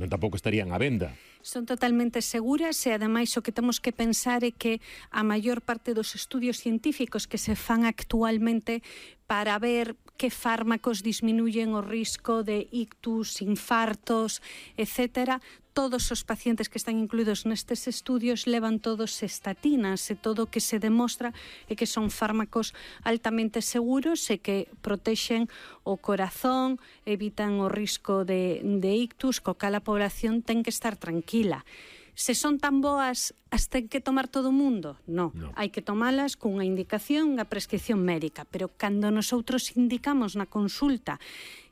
Non tampouco estarían á venda. Son totalmente seguras e, ademais, o que temos que pensar é que a maior parte dos estudios científicos que se fan actualmente para ver que fármacos disminuyen o risco de ictus, infartos, etcétera, todos os pacientes que están incluídos nestes estudios levan todos estatinas e todo o que se demostra é que son fármacos altamente seguros e que protexen o corazón, evitan o risco de ictus, co cal a población ten que estar tranquila. Se son tan boas, as ten que tomar todo o mundo? No. Hai que tomalas cunha indicación, unha prescripción médica, pero cando nosotros indicamos na consulta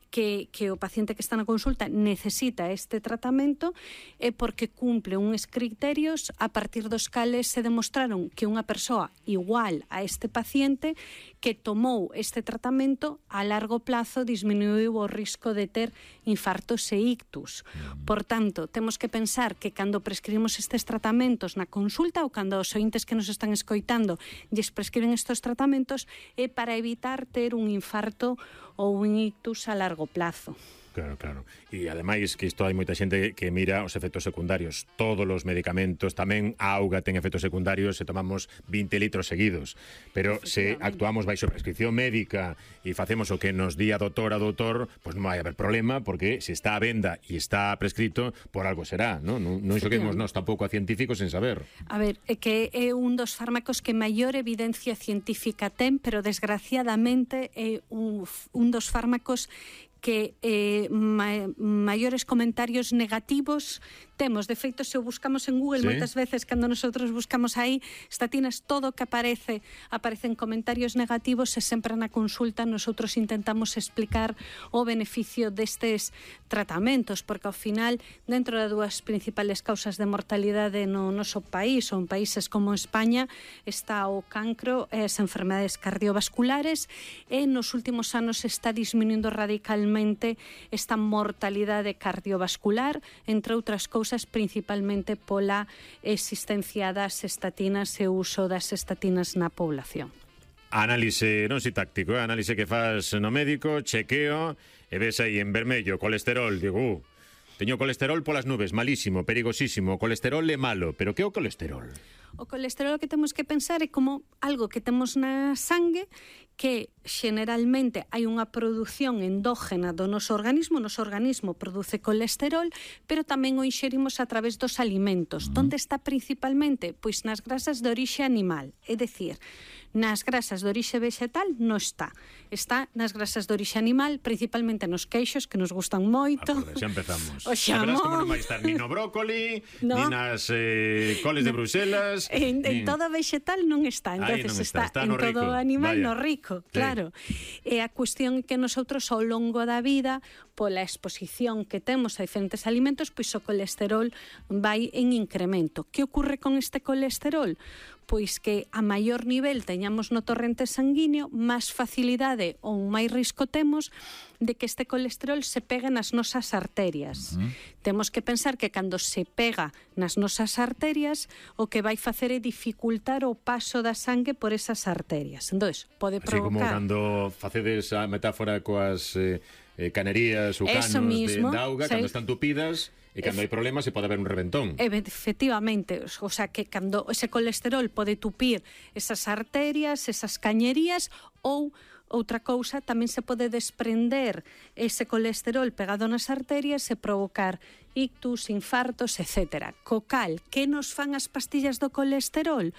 que o paciente que está na consulta necesita este tratamento é porque cumple uns criterios a partir dos cales se demostraron que unha persoa igual a este paciente que tomou este tratamento a largo plazo disminuiu o risco de ter infartos e ictus. Por tanto, temos que pensar que cando prescribimos estes tratamentos na consulta ou cando os ointes que nos están escoitando lles prescriben estes tratamentos é para evitar ter un infarto ou un ictus a largo plazo. Claro. E ademais que isto hai moita xente que mira os efectos secundarios. Todos os medicamentos, tamén a auga ten efectos secundarios se tomamos 20 litros seguidos. Pero se actuamos baixo prescripción médica e facemos o que nos di a doutor, pois non vai haber problema, porque se está a venda e está prescrito, por algo será, non xoguemos nós tampouco a científicos sen saber. A ver, é que é un dos fármacos que maior evidencia científica ten, pero desgraciadamente é un dos fármacos que maiores comentarios negativos temos. De feito, se o buscamos en Google, moitas veces, cando nosotros buscamos aí estatinas, todo o que aparecen comentarios negativos e sempre na consulta nosotros intentamos explicar o beneficio destes tratamentos, porque ao final, dentro das dúas principales causas de mortalidade no noso país, ou en países como España, está o cancro e as enfermedades cardiovasculares, e nos últimos anos está disminuindo radicalmente esta mortalidade cardiovascular, entre outras cousas, principalmente pola existencia das estatinas e o uso das estatinas na población. Análise, non si táctico, análise que faz no médico, chequeo, e ves aí en vermello, colesterol, digo, teño colesterol polas nubes, malísimo, perigosísimo, o colesterol é malo, pero que é o colesterol? O colesterol que temos que pensar é como algo que temos na sangue que generalmente hai unha produción endógena do noso organismo. O noso organismo produce colesterol, pero tamén o inxerimos a través dos alimentos. Onde está principalmente? Pois nas grasas de orixe animal, é dicir, nas grasas de orixe vegetal non está. Está nas grasas de orixe animal, principalmente nos queixos, que nos gustan moito. Xa empezamos. O xamón. Como non vai estar ni no brócoli, ni nas coles de Bruselas. En todo vegetal non está. Entonces está en todo animal, no rico. Claro. E a cuestión é que nosotros ao longo da vida, pola exposición que temos a diferentes alimentos, pois o colesterol vai en incremento. Que ocorre con este colesterol? Pois que a maior nivel teñamos no torrente sanguíneo, máis facilidade ou máis risco temos de que este colesterol se pegue nas nosas arterias. Temos que pensar que cando se pega nas nosas arterias, o que vai facer é dificultar o paso da sangue por esas arterias. Entón, pode provocar... Así como cando facedes a metáfora coas canerías ou canos de auga, cando están tupidas... E cando hai problemas se pode haber un reventón. Efectivamente, o sea que cando ese colesterol pode tupir esas arterias, esas cañerías, ou outra cousa, tamén se pode desprender ese colesterol pegado nas arterias e provocar ictus, infartos, etc. Co cal, que nos fan as pastillas do colesterol?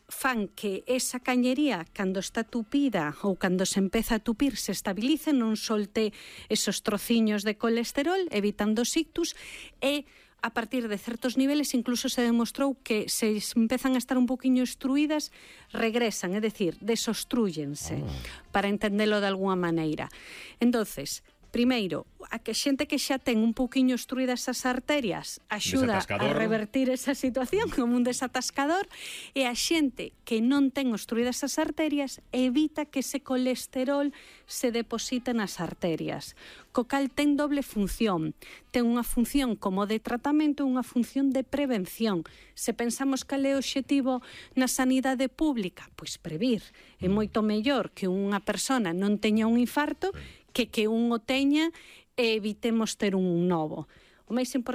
Fan que esa cañería, cando está tupida ou cando se empeza a tupir, se estabilice, non solte esos trociños de colesterol, evitando os ictus, e a partir de certos niveles incluso se demostrou que se empezan a estar un poquinho obstruídas, regresan, é dicir, desostrúyense, para entendelo de alguna maneira. Entonces, primeiro, a que xente que xa ten un pouquiño obstruídas esas arterias axuda a revertir esa situación como un desatascador, e a xente que non ten obstruídas esas arterias evita que ese colesterol se deposite nas arterias. Co cal ten doble función. Ten unha función como de tratamento e unha función de prevención. Se pensamos cal é o obxectivo na sanidade pública, pois previr. É moito mellor que unha persona non teña un infarto que un o teña e evitemos ter un novo. O máis importante